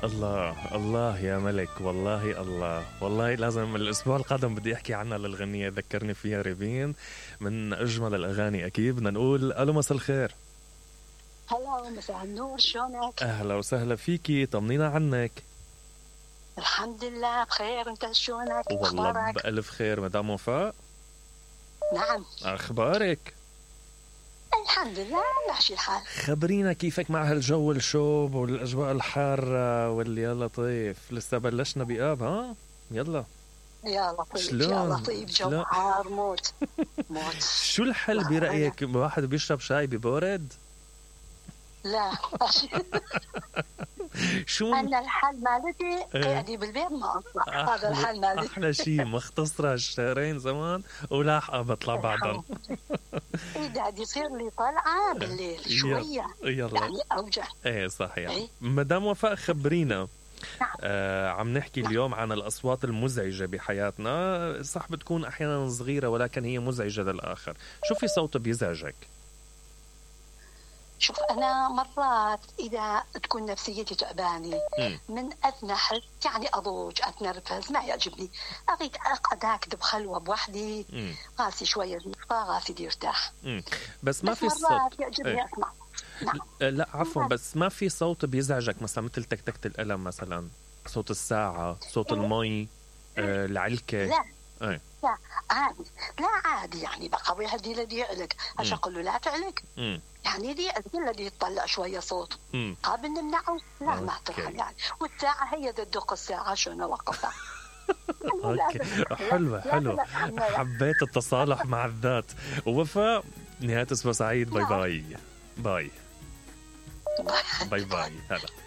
الله الله يا ملك، والله الله، والله لازم الأسبوع القادم بدي أحكي عنها للغنية، ذكرني فيها ريفين، من أجمل الأغاني. أكيد بدنا نقول ألو مساء الخير. هلا مساء النور، شلونك؟ أهلا وسهلا فيكي، طمنينا عنك. الحمد لله بخير، انت شلونك؟ والله اخبارك؟ بألف خير مدام وفاء. نعم أخبارك؟ الحمد لله ماشي الحال. خبرينا كيفك مع هالجو الشوب والأجواء الحارة واللي يا لطيف، لسه بلشنا بآب ها؟ يلا يا لطيف شلون؟ يا لطيف، جو شلون؟ حار موت موت. شو الحل برأيك؟ واحد بيشرب شاي ببورد؟ لا شو انا الحل مالتي قاعدي بالبيت ما اطلع، هذا الحل مالتي. احلى شيء مختصرة الشهرين زمان ولاحقة بطلع بعدهم. اذا عاد يصير لي طلعه بالليل شويه يلا يعني اوجع. ايه صحيح. إيه؟ مدام وفاء خبرينا. عم نحكي اليوم عن الأصوات المزعجة بحياتنا، صح بتكون أحيانا صغيرة ولكن هي مزعجة للآخر. شو في صوت بيزعجك؟ شوف أنا مرات إذا تكون نفسيتي تعبانة من أدنى حس يعني أضوج أتنرفز ما يعجبني، أريد أقعد هكذا بخلوة بوحدي، راسي شوية راسي يرتاح. بس ما في صوت يعجبني أسمع. نعم. لا عفوا، بس ما في صوت بيزعجك مثلا مثل تكتكة القلم مثلا، صوت الساعة، صوت المي، العلكة؟ لا ايه. لا عادي، لا عادي يعني بقى هدي الذي يعلق عشان أقول له لا تعلق. يعني دي الذي يطلع شوية صوت قابل نمنعه، لا ما ترحم يعني. والساعة هي تدق الساعة شو نوقفها. اوكي حلوة حلوة، حبيت التصالح مع الذات. ووفاء نهاية اسبوع سعيد، باي باي باي باي باي. هلا